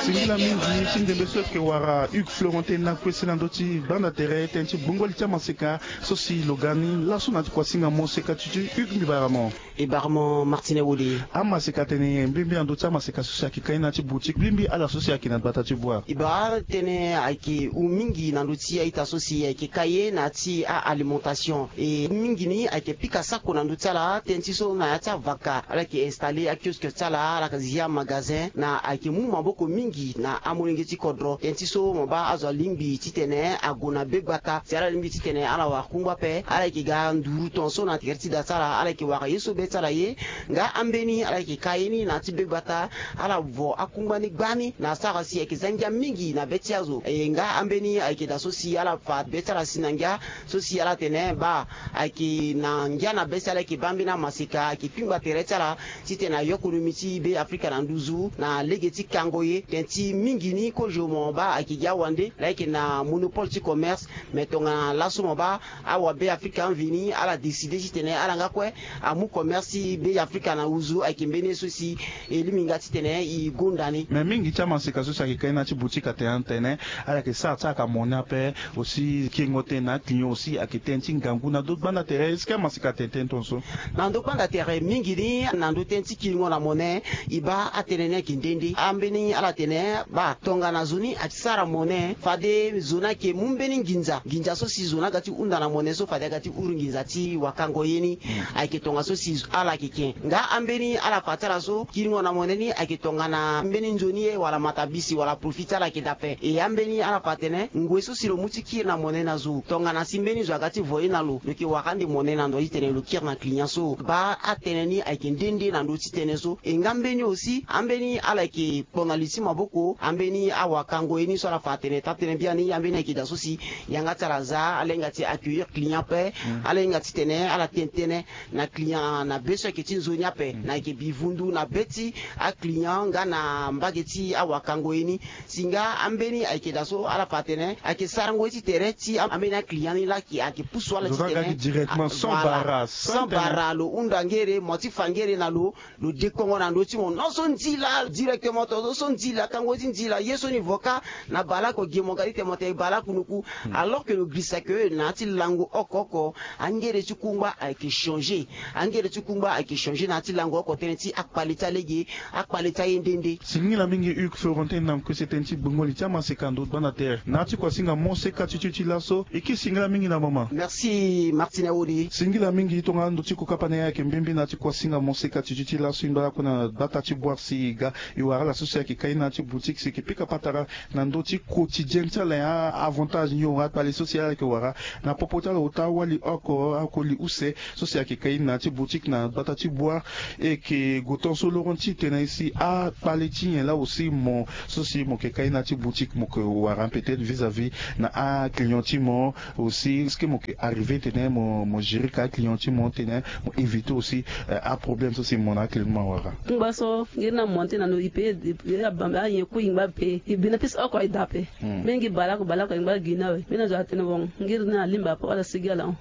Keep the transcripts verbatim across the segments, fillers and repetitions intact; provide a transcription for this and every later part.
Singila mingi ti ndembe so ayeke wara Hugues Florentin na kue si na ndö ti gbanda tere tënë ti gbongo li ti amaseka so si lo ga ni laso na ti kuasinga mo seka ti ti Hugues mbi bara mo. E bara mo Martine Wode. Amaseka tene mbimbia na ndö ti amaseka so si ayeke kai na ti boutique mbimbia ala so si ayeke na gbata ti bua. E bara tënë ayeke hu mingi na ndö ti a-ita so si ayeke kai ye na ya ti a-alimentation. E mingi ni ayeke pika sako na ndö ti ala tënë ti so na ya ti avaka ala yeke installer akioske ti ala ala yeke zia magasin na ayeke mu maboko mingi na amolenge ti kodro tënë ti so mo baa azo alingbi titene ague na be gbata si ala lingbi titene ala wara kungba ape ala yeke ga nduru tongaso na tere ti da ti ala ala yeke wara ye so be ti ala ye. Nga ambeni ala yeke ka ye ni na ya ti be gbata ala vo akungba ni gbani na asara si ayeke za ngia mingi na be ti azo e nga ambeni ayeke da so si ala fa be ti ala si na ngia so si ala tene baa ayeke na ngia na be si ala yeke baa mbeni amaseka ayeke kpingba tere ti ala titene ayo konomi ti be afrika na nduzu na lege ti kango ye tënë ti mingi ni kozo mo baa ayeke gi awande laa ayeke na monopole ti commerce. Me tongana laso mo baa awabe afrika mveni ala décide titene ala nga kue amu commerce ti be afrika na nduzu ayeke mbeni ye so si e lingbi nga titene e gonda ni. Me mingi ti amaseka so si ayeke kai na ya ti boutique atene atene ala yeke sara ti ala ka mone ape aussi kiringo tënë na aclient aussi ayeke tënë ti ngangu na ndö gbanda tere est-ce que amaseka atene tënë tongaso? Na ndö gbanda tere mingi ni na ndö tënë ti kiringo na mone e baa atënë ni ayeke nde nde ambeni ala tene baa tongana zo ni asara mone fade zo ni ayeke mu mbeni nginza nginza so si zo ni aga ti hunda na mone so fade aga ti huru nginza ti wakango ye ni. Ayeke tongaso si ala yeke ke nga ambeni ala fa ti ala so kiringo na mone ni ayeke tongana mbeni nzoni ye wala matabisi wala profit ti ala ayeke dape e ambeni ala fa atene ngoi so si lo mu ti kiri na mone na zo tongana si mbeni zo aga ti vo ye na lo lo yeke wara ande mone na ndo titene lo kiri na client so baa atënë ni ayeke nde nde na ndö ti tënë so e nga mbeni aussi ambeni ala yeke kpo na li ti maboko ambeni awakango ye ni so ala fa atene taa tënë biani ambeni ayeke da so si yanga ti ala za ala hinga ti accueillir client ape ala hinga titene ala tene tënë na client na be so ayeke ti nzoni ape na ayeke bivundu na be ti aclient nga na mbage ti awakango ye ni. Si nga ambeni ayeke da so ala fa atene ayeke sarango ye ti tere ti ambeni aclient ni laa ayeke pusu ala titene directement sans bara sans bara lo hunda ngere mo ti fa ngere na lo lo dekongo na ndö ti mo non so nzila directement to so nzila kango ye ti nzila ye so ni vo kâ na baleoko gi mo ga ti tene mo tene baleoko noku. Alors que lo girisa ke na ya ti lango oko oko angere ti kungba ayeke changer angere ti kungba ayeke changer na ya ti lango oko tënë ti akpale ti alege akpale ti aye nde nde. Singila mingi Hugues Florentin na kue si tënë ti gbongo li ti amaseka ndo gbanda tere na ya ti kuasinga mo seka ti ti ti laso e kiri singila mingi na mama. Merci Martine Awode. Singila mingi tongana ndo ti kokapa na ye ayeke mbembe na ya ti kuasinga mo seka ti ti ti laso e ngba lakue na gbata ti boire si e ga e wara ala so si ayeke kai na ya ti boutique si e yeke pika patara na ndö ti quotidien ti ala nyen avantage nyon akpale so si ala yeke wara na popo ti ala ota wali oko oko li use so si ayeke kai na ya ti boutique na gbata ti boire. E yeke gue tongaso loron ti tene si akpale ti nyen laa aussi mo so si mo yeke kai na ya ti boutique mo yeke wara peut-être vis-à-vis na aclient ti mo aussi est-ce que mo yeke arriver tene mo mo gérer ka aclient ti mo tene mo éviter aussi aproblème so si mo na aclient ti mo awara. Kungba so ngeri na mo tena lo ipe abamba ayen ku ingba pe ibina pis oko ida pe. Mingi balaku balaku ingba gina we mina zo atene won ngeri na alimba po ala sigi ala on.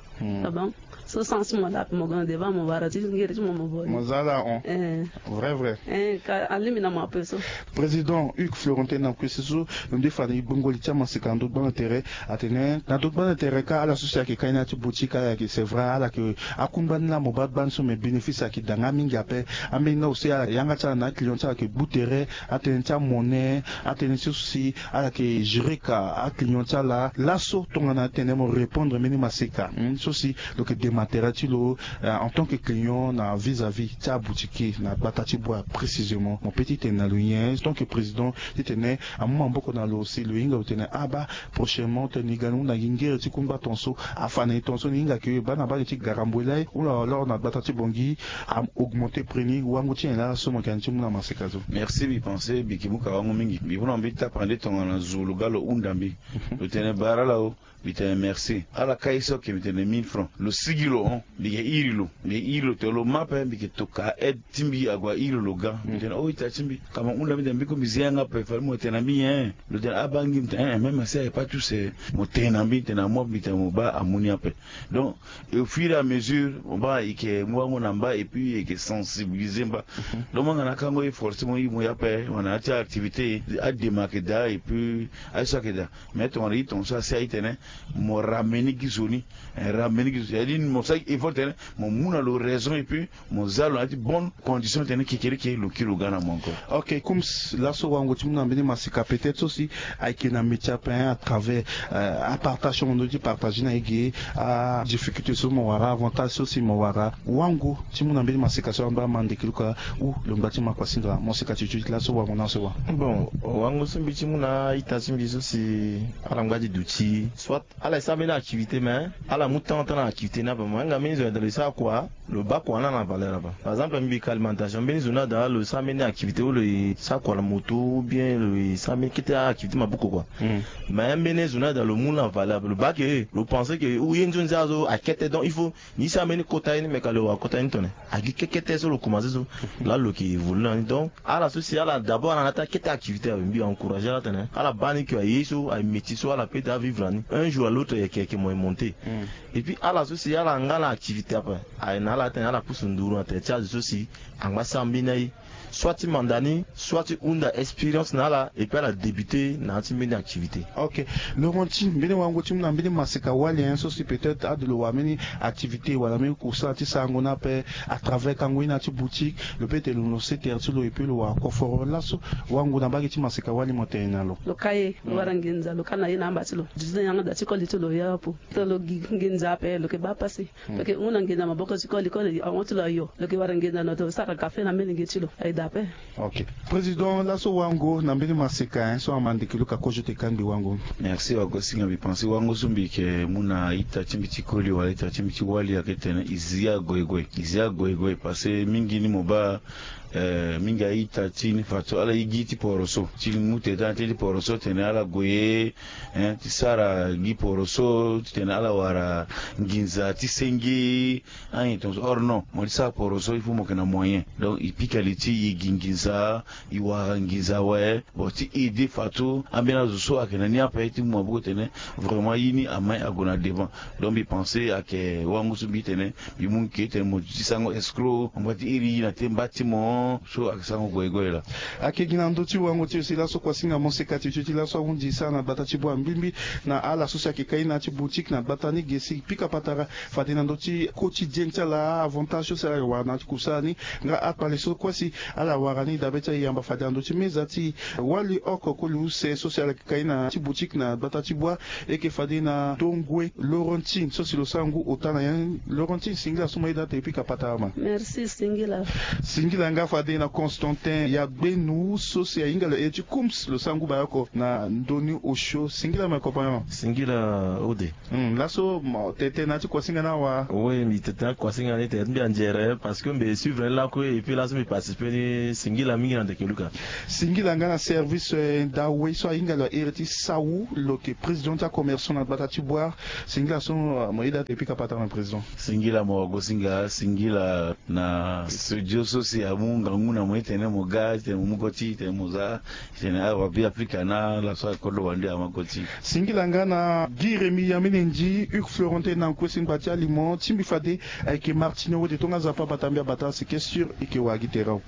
Abang so sans mo da pe mo gana devant mo bara ti ngeri ti mo mo boni mo za ala on. Vrai vrai. Ka alimi na mo ape so. Président Hugues Florentin na kue si so lo nde fa na e gbongo li ti amaseka na ndo gbanda tere atene na ndo gbanda tere ka ala so si ayeke kai na ya ti boutique ala yeke c'est vrai ala yeke akungba ni laa mo baa gbani so mais bénéfice ayeke da nga mingi ape. Ambeni na aussi ala yanga ti ala na aclient ti ala yeke gbu tere atënë ti amone atënë ti so si ala yeke gérer ka aclient ti ala laso tongana atene mo répondre mbeni maseka so si lo yeke dema tere ti lo en tant que client na vis-à-vis ti aboutique na gbata ti boire précisément mo pe ti tene na lo nyen tant que président titene amu maboko na lo si lo hinga lo tene aba prochainement tene e ga ni hunda gi ngere ti kungba tongaso afa na e tongaso ni hinga ke baa na mbage ti garamboe lai hunda alors na gbata ti bongi a augmenter prix ni wango ti nyen laa so mo yeke na ni ti mu na maseka so. Merci mbi pense mbi yeke mu ka wango mingi mbi mu na mbi tapande tongana zo lo ga lo hunda mbi lo tene bara ala o. Mbi tene merci ala kai so ake mbi tene Mille francs lo sigi lo hon, mbi yeke iri lo, mbi yeke iri lo tene lo ma ape, mbi yeke tokua aide ti mbi ague airi lo ga. Mbi tene o ita ti mbi, ka mo hunda mbi tene mbi kue mbi zia yanga ape, fade mo tene na mbi nyen? Lo tene abaa ngi. Mbi tene eh même si aye pas tous, mo tene na mbi tene na moi mbi tene mo baa amu ni ape. Donc au fur et à mesure mo baa e yeke mu wango na mba et puis e yeke sensibiliser mba. Donc mo yanga na akango ye forcément mo ye ape wala na ya ti activité adema ayeke daa et puis aye so ayeke daa. Mais tongana ye tongaso asi aye tene mo ramener gi zo ni. Ramener gi zo, c'est-à-dire mo sara gi effort tene mo mu na lo raison et puis mo za lo na ya ti bonne condition tene kekereke lo kiri lo ga na mo encore. Ok, comme laso wango ti mu na mbeni maseka peut-être so si ayeke na métier ape à travers apartage so mo ndö ti partager na e ge, adifficulté so mo wara, avantage so si mo wara, wango ti mu na mbeni maseka so amba ma ndeke luka ou lo ngba ti ma kuasinga mo seka ti tio ti laso wango na so wa. Bon, wango so mbi ti mu na a-ita ti mbi so si ala ngba ti duti soit ala e sara mbeni activité mais ala mu temps ota na activité ni ape. Mo hinga mbeni zo na eda lo e sara kua, lo baa kua ni ala na valeur ape. Par exemple mbi ka alimentation, mbeni zo ni ada lo e sara mbeni activité ou lo e sara kua na moto ou bien lo e sara mbeni kete activité maboko kua. Mais mbeni zo ni ada lo mu ni na valeur ape, lo baa ke lo pense ke ou ye nzoni nzara so akete, donc il faut ni sara mbeni kota ye ni me ka lo wara kota ye ni tone. Agi kekete so lo komanse so laa lo yeke évolue na ni. Donc ala so si ala d'abord ala na ata kete activité awe mbi encourager ala tene ala baa ni ke aye so aye métier so ala peut ti avivre na ni un jour à l'autre yeke yeke mo ye monter. Et puis ala so si ala nga na activité ape aye na ala tene ala pusu nduru na tere ti azo so si angba sara mbeni aye, soit ti manda ni soit ti hunda expérience na ala et puis ala débuter na ya ti mbeni activité. Ok. Laurentine, mbeni wango ti mu na mbeni maseka wali hein so si peut-être ade lo wara mbeni activité wala mbeni kusala ti sarango ni ape à travers kango ye na ya ti boutique, lo peut ti lo lancer tere ti lo et puis lo wara koforo laso wango na mbage ti maseka wali mo tene na lo. Lo ka ye lo wara nginza lo ka na ye na amba ti lo. Duti na yanga da ti koli ti lo ya apo so lo gi nginza ape lo yeke baa pasi. Lo yeke hunda nginza maboko ti koli koli ahon ti lo ayo lo yeke wara nginza na lo sara kafe na mbeni nge ti lo aye daa ape. Ok. Président laso wango na mbeni maseka hein so ama ndeke luka kozo te kangbi wango. Merci wagosinga, mbi pense wango so mbi yeke mu na ita ti mbi ti koli wala ita ti mbi ti wali ayeke tene e zia goigoi, e zia goigoi parce que mingi ni mo baa eh, mingi a-ita ti ni fadeso ala ye gi ti poroso ti mu tene ti poroso tene ala gue ye hein ti sara gi poroso titene ala wara nginza ti senge. Anyen tongaso or non mo ti sara poroso il faut mo yeke na moyen, donc e pika li ti e gi nginza, e wara nginza awe. Bon ti aider fadeso ambeni azo so ayeke na ni ape ti mu maboko tene vraiment ye ni amai ague na devant. Donc mbi pense ayeke wango so mbi tene mbi mu nge tene mo duti sarango escroc mo ngba ti iri ye na te mba ti mo so ayeke sarango goigoi laa. Ayeke gi na ndö ti wango ti lo si laso kuasinga mo seka ti tio ti laso ahundi e sara na gbata ti bua mbimbi na ala so si ayeke kai na ya ti boutique na gbata ni ge si pika patara fade na ndö ti quotidien ti ala avantage so si ala wara na ya ti kusala ni. Nga akpale so kue si ala wara ni dabe ti ayamba fade na ndö ti meza ti wali oko koli use so si ala yeke kai na ya ti boutique na gbata ti bua. E yeke fade na tongue Laurentine so si lo sara ngu ota na nyen? Laurentine singila so mo yeda ate e pika patara ma. Merci singila. Singila nga fade na Constantin ya gbenu so si ahinga lo iri ti Kums lo sara ngu bayo oko na ndoni osio. Singila ma e kopa nyen ma? Singila ode. Laso mo tete na ya ti kuasinga ni awa? Oui mbi tete na ya ti kuasinga ni tene ti mbi anzere parce que mbi suivre ni lakue et puis laso mbi participer ni. Singila mingi na ndeke luka. Singila nga na service ndawe so ahinga lo iri ti sawu lo yeke président ti acommerçant na gbata ti bua. Singila so mo yeda ate e pika patara na président. Singila mo wagosinga singila na studio so si amu ngangu na mo ti tene mo ga ti tene mo mu koti ti tene mo za ti tene awa bi afrika na ala so akodro wande ama koti. Singila nga na gi remi ya mene ndi huc florentin na nkue si ngba ti aliment ti mbi fade ayeke martinier wode tonga nzapa bata mbi abata si question eke wara gi tere awe.